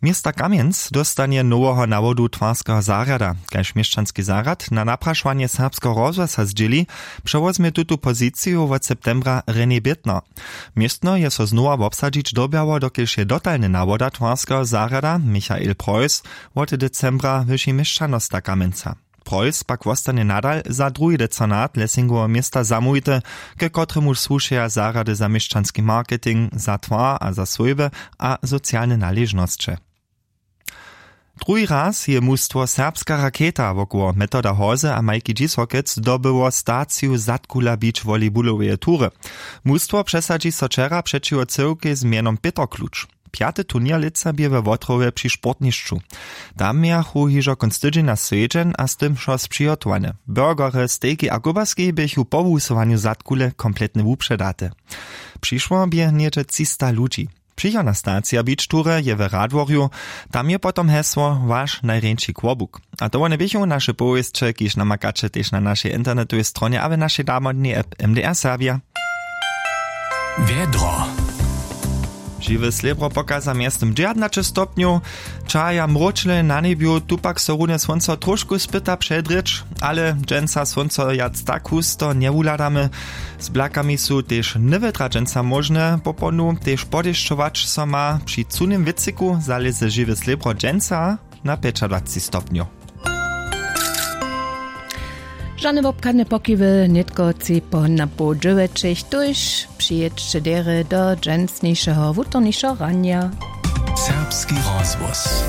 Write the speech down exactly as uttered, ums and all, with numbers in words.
Města Kamjenc dóstanje noweho nawodu twarskeho zarjada. Kaž měšćanski zarjad na naprašowanje Serbskeho rozhłasa zdźěli, přewozmje tutu poziciju wot septembra René Bětner. Městno je so znowa wobsadźić dyrbjało, dokelž je dotalny nawoda twarskeho zarjada Michael Preuss wot decembra wyši měšćanosta Kamjenca. Preuss pak wostanje nadal za druhi decanat Lessingoweho města zamołwity, ke kotremuž słušeja zarjady za měšćanski marketing, za twar a za swójby a socialne naležnosće. Druhi raz je mustwo Serbska raketa wokoło Metoda Hozy a Majki Dźisokec dobyło staciju Zadkula Beach volleybuloweje tury. Mustwo přesadźi so wčera přećiwo cyłkej z mjenom Pětr Kluč. Pjaty turněr lětsa bě we Wotrowje při sportnišću. Tam mějachu hižo kónc tydźenja swjedźeń a z tym wšo spřihotowane. Burgery, stejki a kobaski běchu po wusowanju Zadkule kompletnje wupředate. Přišło bě něhdźe třista ludźi. Přichodna stacija beach tury je w Radworju. Tam je potom hesło Waš najrjeńši kłobuk. A to wone běchu naše powěsće, kiž namakaće tež na našej internetowej stronje a w našej damodnej app M D R Serbja. Wjedro. Žiwe slěbro pokaza mjeztym dźewjatnaće stopnjow. Čaja mróčle na njebju, tu pak so runje słónco trošku spyta předrěć, ale dźensa słónco wjac tak husto njewuhladamy. Z blakami su tež nywětra dźensa móžne, popołdnju tež podešćować so ma. Při cunym wětřiku zalěze žiwe slěbro dźensa na pjećadwacci stopnjow. Žane wobchadne pokiwy nětko tři po na poł dźewjećich, tuž přijědźće derje do dźensnišeho wutornišeho ranja. Serbski rozhłos.